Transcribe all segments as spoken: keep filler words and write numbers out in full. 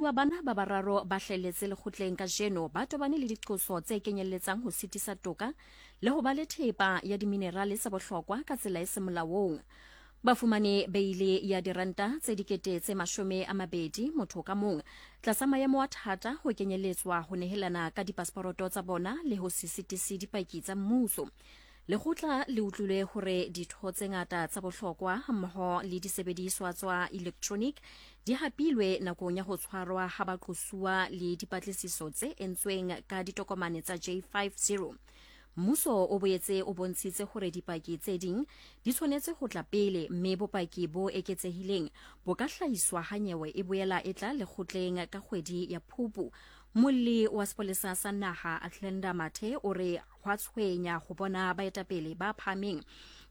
Baqosuwa bana ba bararo ba hlahelletse lekgotleng kajeno ba tobane le diqoso tse kenyelletsang ho sitisa toka le ho ba le thepa ya diminerale tsa bohlokwa ka tsela e seng molaong. Ba fumane beile ya diranta tse dikete tse mashome a mabedi motho ka mong tlasa maemo a thata ho kenyelletswa ho nehelana ka dipasporoto tsa bona le ho se sitise dipaki tsa mmuso. Lekgotla le utlwile hore ditho tse ngata tsa bohlokwa hammoho le disebediswa tsa electronic di hapilwe nakong ya ho tshwarwa ha baqosuwa le dipatlisiso tse entsweng ka ditokomane tsa J fifty. Mmuso o boetse o bontshitse hore dipaki tse ding di tshwanetse ho tla pele mme bopaki bo eketsehileng bo ka hlahiswa ha nyewe e boela e tla lekgotleng ka kgwedi ya Phupu. Molli wa sepolesa sa naha Athlenda Mathe o re hwa tshwenya ho bona baetapele ba phahameng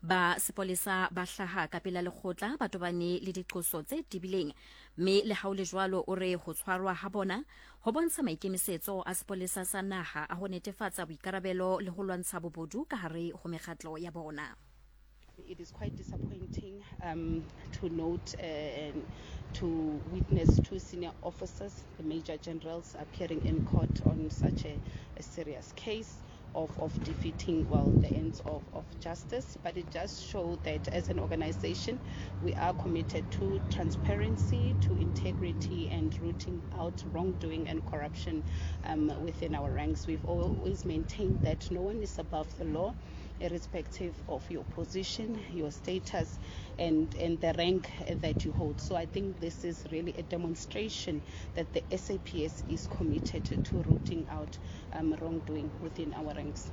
ba sepolesa ba hlaha ka pela lekgotla ba tobane le diqoso tse tebileng, mme le ha ho le jwalo o re ho tshwarwa ha bona ho bontsha maikemisetso a sepolesa sa naha a ho netefatsa boikarabelo le ho lwantsha bobodu ka hare ho mekgatlo ya bona. It is quite disappointing um, to note uh, and to witness two senior officers, the major generals, appearing in court on such a, a serious case of, of defeating, well, the ends of, of justice. But it just showed that as an organization, we are committed to transparency, to integrity, and rooting out wrongdoing and corruption um, within our ranks. We've always maintained that no one is above the law, irrespective of your position, your status, and, and the rank that you hold. So I think this is really a demonstration that the S A P S is committed to rooting out um, wrongdoing within our ranks.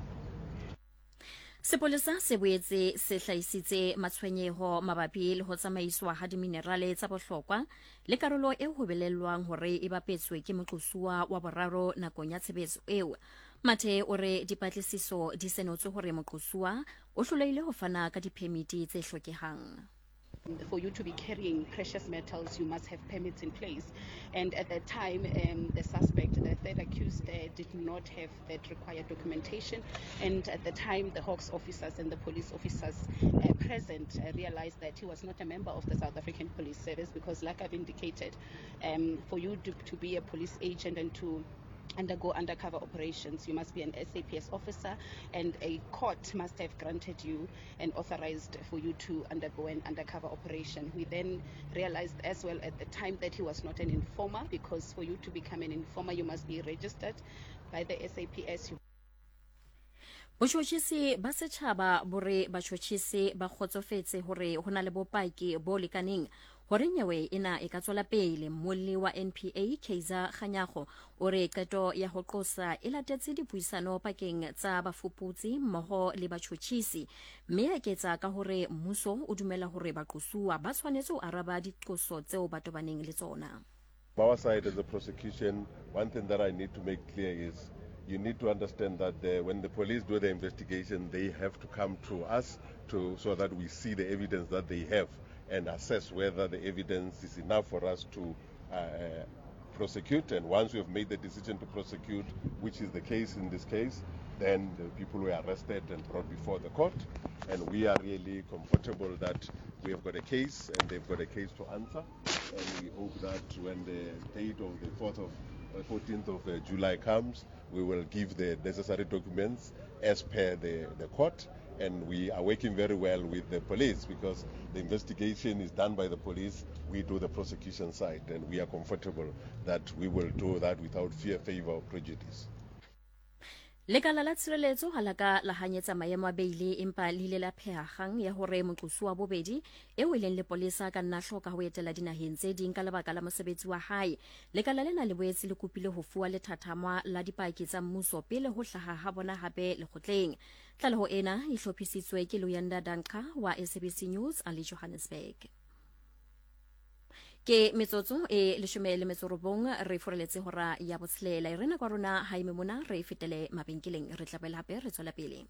Sepolesa se boetse se hlahisitse matshwenyeho mabapi le ho tsamaiswa ha diminerale tsa bohlokwa le karolo e ho belellwang hore e bapetswe ke moqosuwa wa boraro nakong ya tshebetso eo. Mathe o re dipatlisiso di senotswe hore moqosuwa o hlolehile ho fana ka diphemiti tse hlokehang. For you to be carrying precious metals, you must have permits in place. And at that time, um, the suspect, the third accused, uh, did not have that required documentation. And at the time, the Hawks officers and the police officers uh, present uh, realized that he was not a member of the South African Police Service because, like I've indicated, um, for you to, to be a police agent and to undergo undercover operations, you must be an S A P S officer, and a court must have granted you and authorized for you to undergo an undercover operation. We then realized as well at the time that he was not an informer, because for you to become an informer, you must be registered by the S A P S. Botjhotjhisi ba setjhaba bo re batjhotjhisi ba kgotsofetse hore ho na le bopaki bo lekaneng hore nyewe ena e ka tswela pele. Mmolli wa N P A Kaizer Kganyago o re qeto ya ho qosa e latetse dipuisano pakeng tsa bafuputsi mmoho le batjhotjhisi, mme a eketsa ka hore mmuso o dumela hore baqosuwa ba tshwanetse ho araba diqoso tseo ba tobaneng le tsona. Our side as a prosecution, one thing that I need to make clear is you need to understand that the, when the police do the investigation, they have to come to us to, so that we see the evidence that they have and assess whether the evidence is enough for us to, uh, prosecute. And once we have made the decision to prosecute, which is the case in this case, then the people were arrested and brought before the court. And we are really comfortable that we have got a case and they've got a case to answer. And we hope that when the date of the fourth of fourteenth of, uh, July comes, we will give the necessary documents as per the, the court. And we are working very well with the police because the investigation is done by the police. We do the prosecution side, and we are comfortable that we will do that without fear, favor, or prejudice. Lekala la tshireletso ha la ka la hanyetsa maemo a beile, empa le ile la pheha kgang ya hore moqosuwa wa bobedi eo e leng lepolesa ka nna hloka ho etela dinaheng tse ding ka lebaka la mosebetsi wa hae. Lekala lena le boetse le kopile ho fuwa lethathama la dipaki tsa mmuso pele ho hlaha ha bona hape lekgotleng. Tlaleho ena e hlophisitswe ke Luyanda Danka wa S A B C News a le Johannesburg. Ke metsotso e leshome le metso robong re foreletse hora ya botshelela. E rena kwa rona ha ime mona re fetele mabenkeleng, re tla boela hape re tswela pele.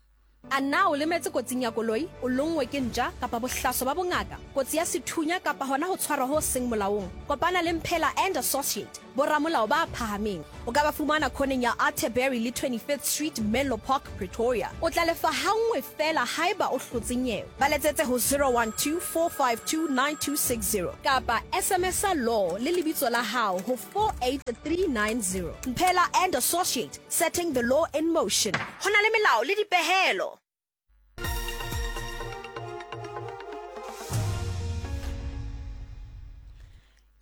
A na o lemetse kotsing ya koloi, o lonngwe ke ntja kapa bohlaso ba bongaka, kotsi ya sethunya kapa hona ho tshwarwa ho seng molaong? Kopana le Mphela and Associate, boramolao ba phahameng. O ka ba fumana khoneng ya Atterbury le twenty-fifth Street, Menlo Park, Pretoria. O tla lefa hangwe fela haeba o hlotse nyewe. Ba letsetse ho zero one two four five two nine two six zero kapa S M S law le lebitso la hao ho four eight three nine zero. Mphela and Associate, setting the law in motion. Ho na le melao le dipehelo.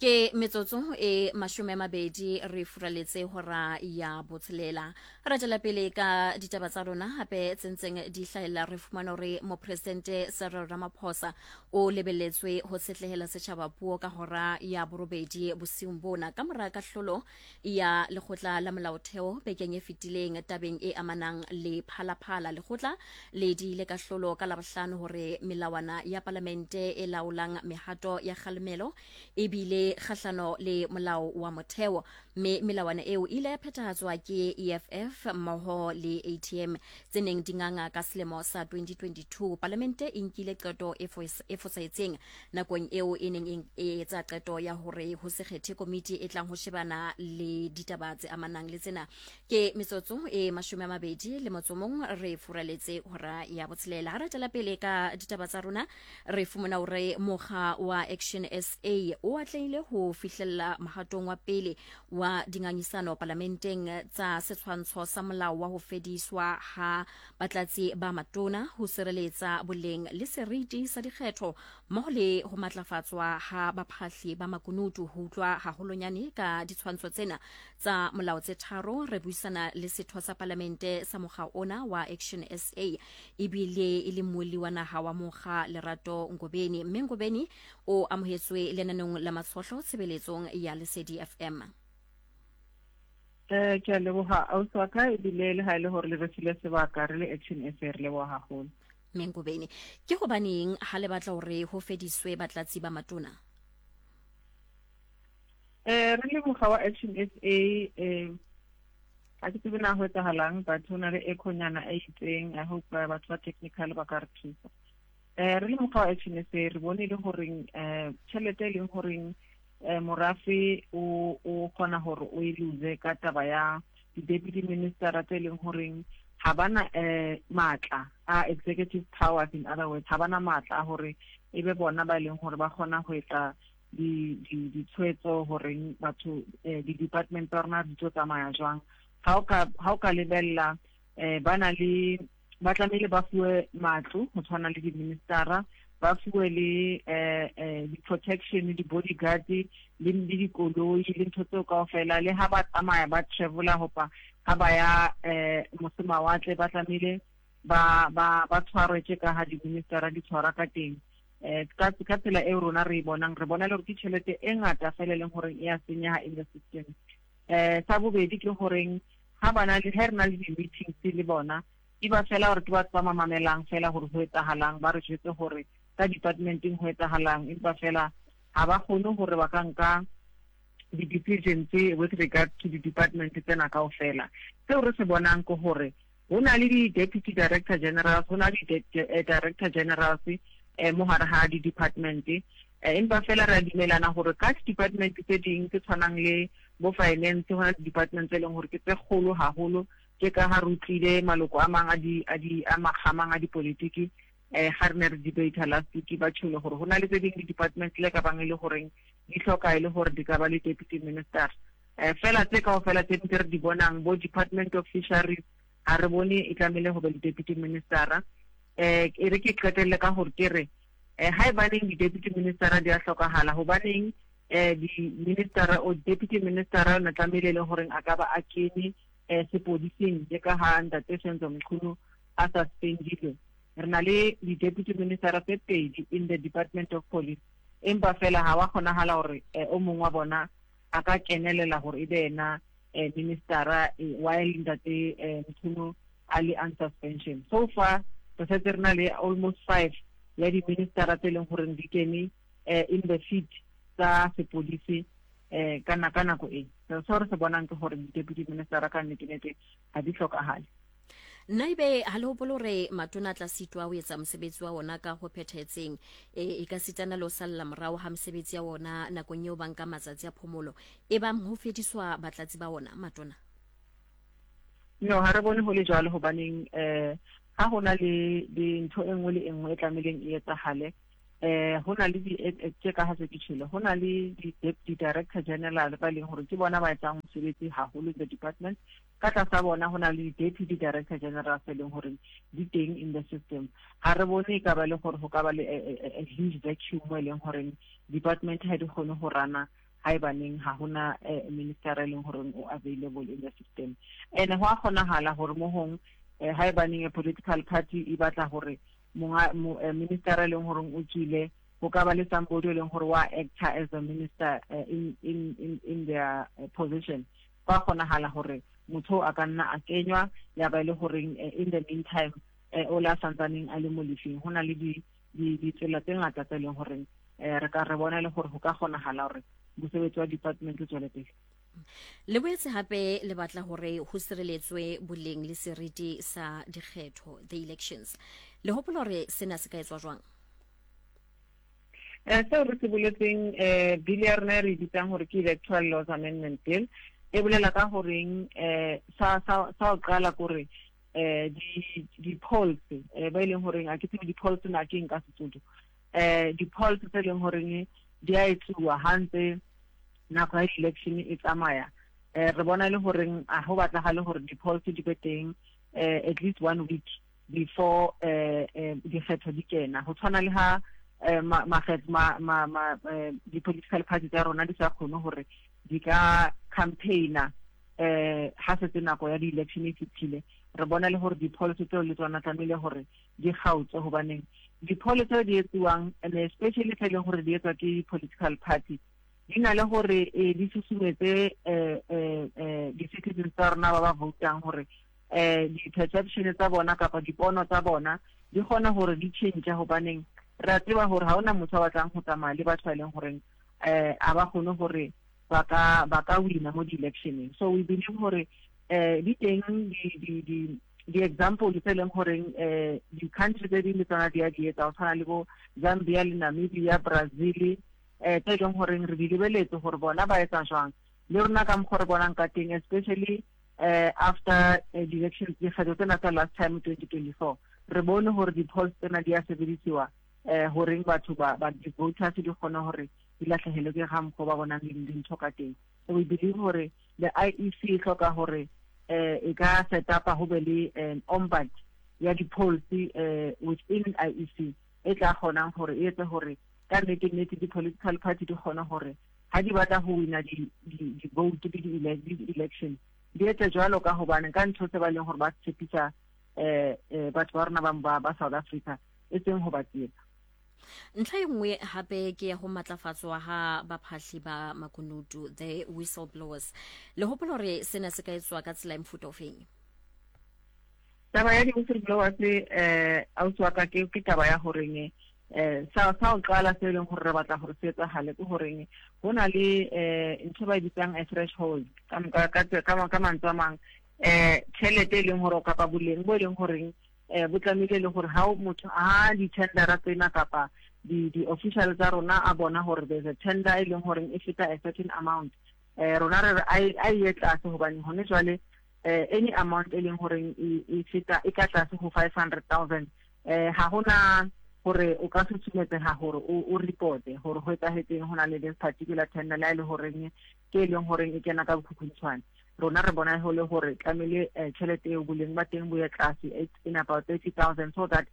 Ke metsotso e mashome a mabedi re furaletse hora ya botshelela. Re tswela pele ka ditaba tsa rona hape tsentseng di hlahella. Re fumana hore mopresidente Cyril Ramaphosa o lebelletswe ho setlehela setjhaba puo ka hora ya borobedi bosiung bona ka mora kahlolo ya lekgotla la molaotheo bekeng e fetileng tabeng e amanang le Phalaphala. Lekgotla le diile kahlolo ka Labohlano hore melawana ya palamente e laolang mehato ya kgalemelo ebile kgahlano le molao wa motheo, mme melawana eo ile ya phethahatswa ke E F F mmoho le A T M tse neng di nganga ka selemo sa twenty twenty-two. Palamente e nkile qeto e fosahetseng nakong eo e neng e etsa qeto ya hore ho se kgethe komiti e tlang ho shebana le ditaba tse amanang le tsena. Ke metsotso e mashome a mabedi le motso mong re furaletse hora ya botshelela. Ha re tswela pele ka ditaba tsa rona, re fumana hore mokga wa Action S A o atlehile ho fihlella mohatong wa pele wa dingangisano palamenteng tsa setshwantsho sa molao wa ho fediswa ha batlatsi ba matona, ho sireletsa boleng le seriti sa dikgetho mmoho le ho matlafatswa ha baphahli ba makunutu. Ho utlwa haholonyane ka ditshwantsho tsena tsa molao tse tharo, re buisana le setho sa palamente sa mokga ona wa Action S A ebile e le mmuelli wa naha wa mokga Lerato Ngobeni. Mme Ngobeni o amohetswe lenaneng la Matshohlo tshebeletsong ya Lesedi F M. Eh ke a leboha ausi wa ka, ebile le ha e le hore le re file sebaka re le Action S A re leboha haholo. Mme Ngobeni, ke hobaneng ha le batla hore ho fediswe batlatsi ba matona? Eh re le mokga wa Action S A, eh ha ke tsebe na ho etsahalang, but ho na le echo-nyana e itseng. I hope batho ba technical ba ka re thusa. Eh re le mokga wa Action S A re bone le horeng eh tjhelete e leng horeng eh morafe o o kgona hore o e lose ka taba ya di-deputy minister tse leng horeng ha bana eh matla a executive powers, in other words ha bana matla a hore e be bona ba leng hore ba kgona ho etsa di di ditshwetso horeng batho di-department tsa rona di tlo tsamaya jwang. Ha o ka ha o ka lebella eh bana le ba tlamehile ba fuwe matlo ho tshwana le di-ministera, ba fuwe le eh eh di-protection, di-bodyguard le le dikoloi le ntho tseo kaofela. Le ha ba tsamaya ba travela hopa ha ba ya eh mose mawatle ba tlamehile ba ba ba tshwarwe tje ka ha di-ministera di tshwara ka teng. Eh ka ka tsela eo rona re e bonang, re bona le hore ke tjhelete e ngata fela e leng hore e a senyeha in the system. Eh sa bobedi ke horeng ha bana le ha re na le di-meetings le bona, e ba fela hore ke batho ba mamamelang fela hore ho etsahalang, ba re jwetse hore ka departmenteng ho etsahalang, empa fela ha ba kgone hore ba ka nka di-decisions with regard to di-department tsena kaofela. Seo re se bonang ke hore ho na le di-deputy director generals, ho na le di-director generals eh mo hare ha di-department, empa fela re a dumelana hore ka di-department tse ding tse tshwanang le bo finance, ho na le di-department tse leng hore ke tse kgolo haholo, ke ka ha re utlwile maloko a mang a di a di a makgamang a dipolitiki eh ha re ne re debate last week ba tsholo hore ho na le tse ding di-department le ka bang e le horeng di hloka e le hore di ka ba le deputy minister. Eh fela tse kaofela tse re di bonang bo Department of Fisheries ha re bone e tlamehile ho ba le deputy minister. Eh e re ke qetelle ka hore ke re eh ha e baneng di-deputy minister di a hlokahala, hobaneng eh di-minister o deputy minister o na tlamehile le horeng a ka ba a kene eh sepodising je ka ha ntate Senzo Mchunu a suspendilwe. Re na le di-deputy minister tse pedi in the Department of Police, empa fela ha wa kgonahala hore o mong wa bona a ka kenelela hore e be yena minister while ntate Mchunu a le on suspension. So far re setse re na le almost five ya di-minister tse leng hore di kene in the seat tsa sepodisi eh kana ka nako e. So re se bonang ke hore di-deputy minister ka nnete-nnete ha di hlokahale. Nna ebe ha le hopole hore matona a tla sitwa ho etsa mosebetsi wa ona ka ho phethahetseng, e, e ka sitana le ho salla morao ha mesebetsi ya ona nakong eo ba nka matsatsi a phomolo, e bang ho fediswa batlatsi ba ona matona? No, ha re bone ho le jwalo, hobaneng eh ha hona le dintho e nngwe le e nngwe e tlamehileng e etsahale, eh ho na le di tse ka ha se ke tjhele, ho na le di director general ba leng hore ke bona ba etsang mosebetsi haholo in the department. Ka tlasa bona ho na le deputy director general tse leng hore di teng in the system. Ha re bone e ka ba le hore ho ka ba le a huge vacuum mo e leng hore department ha di kgone ho rana haebaneng ha hona minister e leng hore o available in the system. And ho a kgonahala hore mo hong haebaneng a political party e batla hore monga minister e leng hore o tswile, ho ka ba le somebody e leng hore wa actor as a minister in in in in their position. Ba kgonahala hore motho a ka nna a kenywa ya ba le hore in the meantime o la santsaneng a le mo lefing. Ho na le di ditsela tse ngata tse leng hore re ka re bona le hore ho ka kgonahala hore mosebetsi wa department o tswele pele. Le boetse hape le batla hore ho sireletswe boleng le seriti sa dikgetho, the elections. Le hopola hore sena se ka etswa jwang? Eh seo re se boletseng, eh bill ya rona re bitsang hore ke Electoral Laws Amendment Bill, e bolela ka horeng eh sa sa sa o qala kore eh di di polls eh ba ileng horeng a ke tsebe di polls na ke nka Sesotho, eh di polls tse leng horeng di a etsuwa hantse nako ya election e tsamaya. Eh re bona le horeng a ho batlagale hore di polls di be teng eh at least one week before eh dikgetho di kena. Ho tshwana le ha ma ma ma ma di political party tsa rona di sa kgone hore di ka campaigner eh ha setse nako ya di-election e fitlhile. Re bona le hore di-polls tseo le tsona tlamehile hore di kgaotswe, hobaneng di-polls tseo di etsuwang and especially tse leng hore di etswa ke political party di na le hore di susumetse eh di-citizens tsa rona ba ba voutang hore eh di-perception tsa bona kapa dipono tsa bona di kgona hore di change, hobaneng re a tseba hore ha hona motho a batlang ho tsamaya le batho ba leng horeng eh a ba kgone hore ba ka ba ka wina mo di-electioneng. So we believe hore eh di teng di di di di-example tse leng horeng eh di-country tse ding le tsona di a di etsa, ho tshwana le bo Zambia le Namibia, Brazil, eh tse leng horeng re di lebeletse hore bona ba etsa jwang. Le rona ka mokgwa re bonang ka teng, especially eh after di-elections dikgetho tsena tsa last time twenty twenty-four, re bone hore di-polls tsena di a sebedisiwa eh horeng batho ba ba di-voters di kgone hore di lahlehelwe ke ga mokgwa ba bonang dintho ka teng. So we believe hore the I E C e hloka hore eh e ka set up ho be le an ombud ya di-polls eh within I E C e tla kgonang hore e etse hore ka nnete nnete di-political party di kgone hore ha di batla ho wina di-vote le di-election di etse jwalo, ka hobane ka ntho tse ba leng hore ba tshepisa eh batho ba rona ba ba South Africa e seng ho ba tsietsa. Ntlha e nngwe hape ke ya ho matlafatswa ha baphahli ba makunutu, the whistleblowers. Le hopola hore sena se ka etswa ka tsela e mofuta ofeng? Taba ya di-whistleblowers eh ausi wa ka ke ke taba ya horeng eh sa sa o qala se leng hore re batla hore se etsahale ke horeng ho na le eh ntho ba e bitsang a threshold ka ka ka ka mantswe a mang, eh tjhelete e leng hore kapa boleng bo e leng horeng eh bo tlamehile le hore ha motho a di-tendera tsena kapa di di-official tsa rona a bona hore there's a tender e leng horeng e feta a certain amount, eh rona re re a ye tlase, hobane hone jwale eh any amount e leng horeng e feta e ka tlase ho five hundred thousand eh ha hona hore o ka susumetseha hore o reporte hore ho etsahetseng ho na le this particular tender la e le horeng ke e leng horeng e kena ka bokhukhuntswane. Rona re bona ho le hore tlamehile tjhelete eo boleng ba teng bo ye tlase, it's in about thirty thousand, so that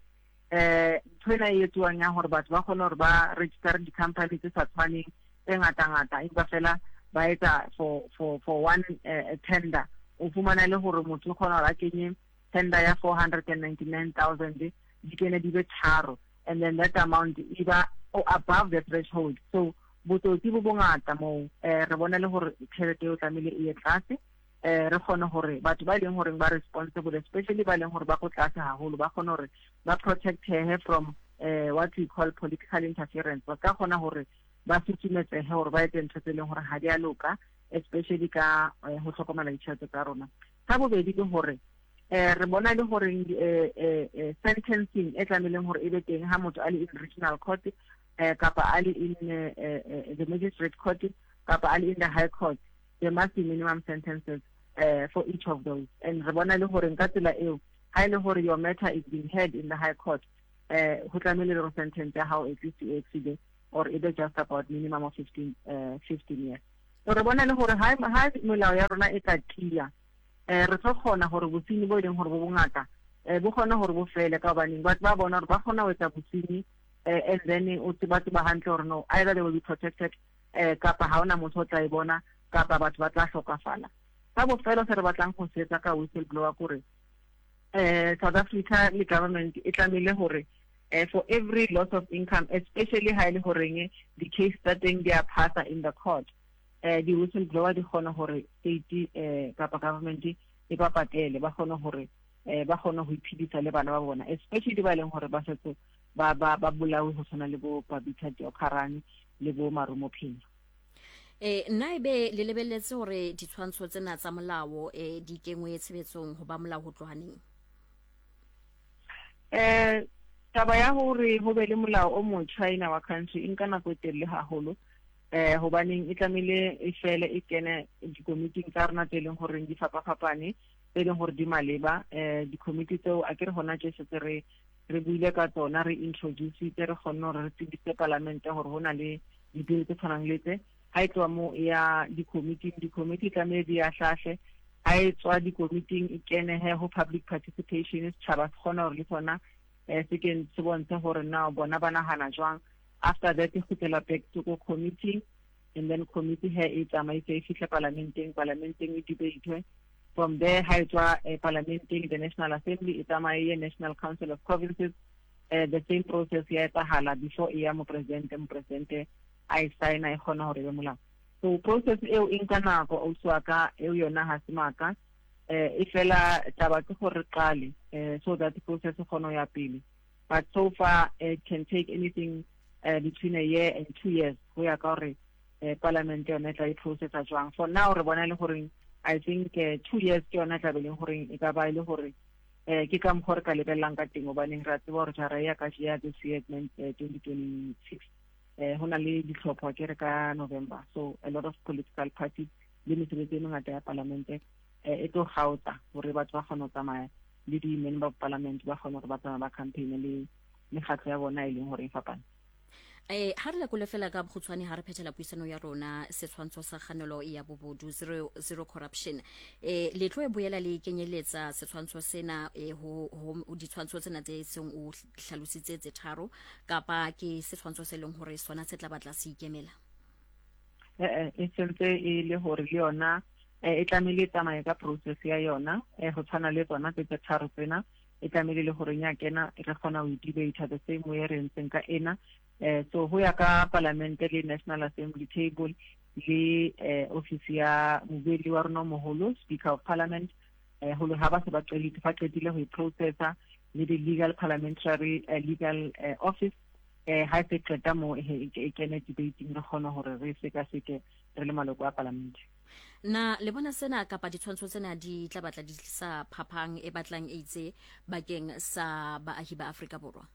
eh ntho ena e etsuwang ya hore batho ba kgone hore ba register di-company tse sa tshwaneng tse ngata-ngata, empa fela ba etsa for for for one uh, tender, o fumana le hore motho o kgona hore a kenye tender ya four hundred and ninety-nine thousand di kene di be tharo, and then that amount e ba above the threshold. So botsotsi bo bongata moo, eh re bona le hore tjhelete eo tlamehile e ye tlase, eh re kgone hore batho ba leng hore ba responsible, especially ba leng hore ba ko tlase haholo, ba kgone hore ba protectehe from eh what we call political interference. Ba ka kgona hore ba susumetsehe hore ba etse ntho tse leng hore ha di a loka, especially ka ho hlokomela ditjhelete tsa rona. Sa bobedi ke hore Eh re bona le hore eh eh sentencing e tlameileng hore e be teng ha motho a le in regional court eh kapa a le in the magistrate court kapa a le in the high court, there must be minimum sentences uh, for each of those. And re bona le hore ka tsela eo ha ile hore your matter is being heard in the high court, eh ho tlamehile hore sentence ya hao at least e exceed or e be just about minimum of fifteen uh, fifteen years. So re bona le hore ha ha molao ya rona e ka tiya, eh re tlo kgona hore bosenyi bo leng hore bo bongata eh bo kgona hore bo fele, ka hobaneng batho ba bona hore ba kgona ho etsa bosenyi, eh and then o tseba tseba hantle hore no, either they will be protected eh kapa ha ona motho o tla e bona kapa batho ba tla hlokafala. Ka bofelo se re batlang go se etsa ka whistleblower kore eh South Africa le government e tlamehile hore eh for every loss of income, especially ha ile horeng the case tsa teng di a phasa in the court, eh di whistleblower di kgone hore state eh kapa government e ba patele, ba kgone hore eh ba kgone ho iphedisa le bana ba bona, especially ba leng hore ba setse ba ba ba bolawe ho tshwana le bo Babita Deokaran le bo Marumo Phinyo. Eh nna ebe le lebelletse hore ditshwantsho tsena tsa molao eh di kengwe tshebetsong ho ba molao ho tloha neng? Eh taba ya hore ho be le molao o motjha in our country e nka nako e telele haholo, eh hobaneng e tlamehile e fele e kene dikomiting tsa rona tse leng hore di fapafapane, tse leng hore di maleba. Eh dikomiti tseo a ke re hona tje setse re re buile ka tsona, re introduce-itse, re kgonne hore re tsebise palamente hore ho na le di-bill tse tshwanang le tse. Ha e tloha moo e ya dikomiting, dikomiti tlamehile di a hlahle. Ha e tswa dikomiting e kene he ho public participation, setjhaba se kgona hore le sona eh se ke se bontshe hore na bona ba nahana jwang. After that e kgutlela back to go committee, and then committee he e tsamaise e fihle parlamenteng, parlamenteng e debate. From there ha e tswa eh, parlamenteng, the National Assembly e tsamaye National Council of Provinces, eh, the same process ya etsahala before e ya mo president, mo president a e signa e kgona hore be molao. So process eo e nka nako ausi wa ka, eo yona ha se maka, eh e fela taba ke gore qale eh so that the process e kgone ho ya pele. But so far it can take anything uh, between a year and two years ho ya ka hore eh, parliament yona e tla e processa jwang. For now re bona le hore I think uh, two years ke yona tla be leng hore e ka ba ile hore eh ke ka mokgwa re ka lebellang ka teng, hobaneng re a tseba hore jara ya ka ya this year twenty twenty-six eh ho na le ditlhopho ke re ka November, so a lot of political parties le mesebetsi e mengata ya palamente eh e tlo kgaotsa hore batho ba kgone ho tsamaya le di-member of parliament ba kgone hore ba tsamaye ba campaign le mekgatlo ya bona e leng hore e fapane. Eh ha re lekole fela ka bokgutshwane ha re phethela puisano ya rona setshwantsho sa kganelo ya bobodu zero zero corruption, eh le tlo e boela le kenyeletsa setshwantsho sena eh ho ho ditshwantsho tsena tse seng o hlalositse tse tharo, kapa ke setshwantsho se leng hore sona se tla batla se ikemela? Eh e sentse e le hore le yona e tlamehile e tsamaye ka process ya yona, eh ho tshwana le tsona tse tharo tsena, e tlamehile le hore nya kena re kgona ho debate the same way re ntseng ka ena. Eh so ho ya ka parliament le National Assembly table le eh office ya mobuelli wa rona moholo, Speaker of Parliament, eh ho ha ba se ba qedile fa qedile ho processa le the legal parliamentary uh, legal uh, office, eh ha se qeta mo e kene debating re kgona hore re seka seke re le maloko a parliament. Na le bona sena kapa ditshwantsho tsena di tla batla di tlisa phapang e batlang e itse bakeng sa baahi ba Afrika Borwa?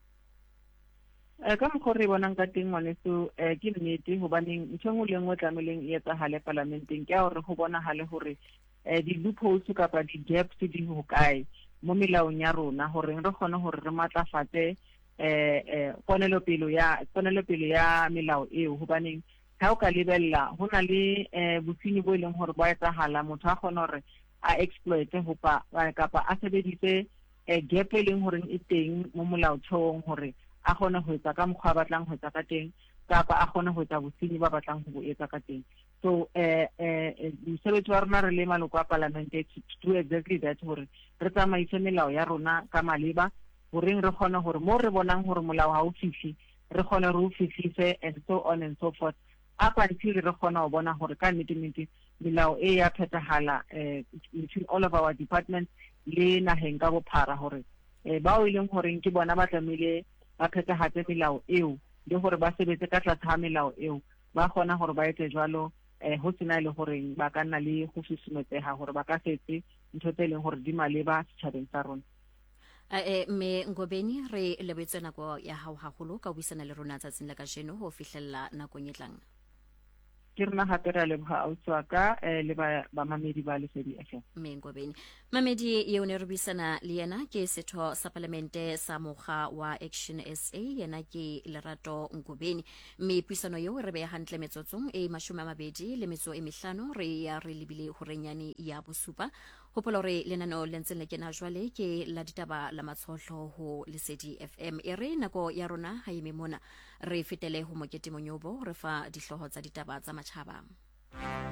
Eh ka mokgwa re bonang ka teng ngwaneso, eh ke nnete, hobaneng ntho e nngwe le nngwe tlameileng e etsahale parlamenteng ke ya hore ho bonahale hore eh di-loopholes kapa di-gaps di hokae mo melaong ya rona, hore re kgone hore re matlafatse eh eh ponelopele ya ponelopele ya melao eo. Hobaneng ha o ka lebella ho na le eh bosenyi bo e leng hore bo etsahala, motho a kgone hore a exploit hopa kapa a sebedise eh gap e leng hore e teng mo molaotheong hore a kgone ho etsa ka mokgwa a batlang ho etsa ka teng, kapa a kgone ho etsa bosenyi ba batlang ho bo etsa ka teng. So eh eh mosebetsi wa rona re le maloko a palamente to do exactly that, hore re tsamaise melao ya rona ka maleba, horeng re kgone hore mo re bonang hore molao ha o fihle re kgone re o fihlise, and so on and so forth, up until re kgona ho bona hore ka nnete nnete melao e ya phethahala eh between all of our departments le naheng ka bophara, hore eh bao e leng horeng ke bona ba tlamehile ba phethahatse melao eo le hore ba sebetse ka tlase ha melao eo, ba kgona hore ba etse jwalo eh ho sena le horeng ba ka nna le go susumetseha hore ba ka setse ntho tse leng hore di maleba setjhabeng sa rona. Eh, mme Ngobeni, re lebohetse nako ya hao haholo ka ho buisana le rona tsatsing la kajeno ho fihlella nakong e tlang. Ke rona hape re a leboha ausi wa ka eh, le ba bamamedi ba Lesedi F M. Mme Ngobeni, mamedi eo ne re buisana le yena ke setho sa palamente sa mokga wa Action S A, yena ke Lerato Ngobeni. Mme puisano eo re beha hantle metsotsong e mashome a mabedi le metso e mehlano, re ya re lebile horenyane ya bosupa. Hopola hore lenaneo le ntseng le kena jwale ke la ditaba la matshohlo ho Lesedi F M. E re nako ya rona ha eme mona, re fetele ho Mokete Monyobo re fa dihlooho tsa ditaba tsa matjhaba.